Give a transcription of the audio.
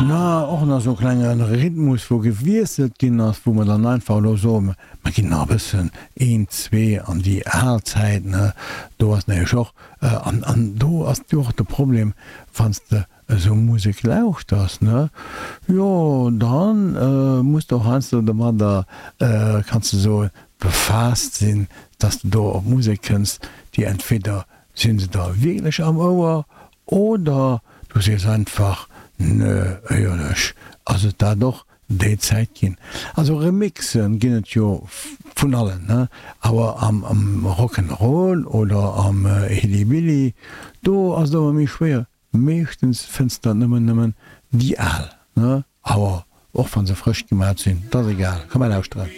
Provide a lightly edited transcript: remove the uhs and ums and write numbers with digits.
Na, och nach esou e klenge Rhythmus, wou gewiesselt ginn ass, wou mer dann einfach elo soen, mer ginn nach e bëssen een, zwee an déi al Zäit, ne, do ass nämlech och, an, an do ass jo och de Problem, wann s de esou Musek lauschters, ne, jo, dann muss de och heiansdo domadder, kanns de soen, befaasst sinn, dass de do op Musek kënns, déi entweder si se der wierklech am Ouer oder du sees einfach, nö, éierlech ass et dat och déi Zäit ginn. Also Remixen ginn et jo vun allen, ne, awer am Rock'n'Roll oder am Hillybilly, do ass et ëmmer méi schwéier. Meeschtens fënns der nëmmen nëmmen déi al, ne, awer och wann se frësch gemat sinn, 't ass egal, komm mer lauschteren.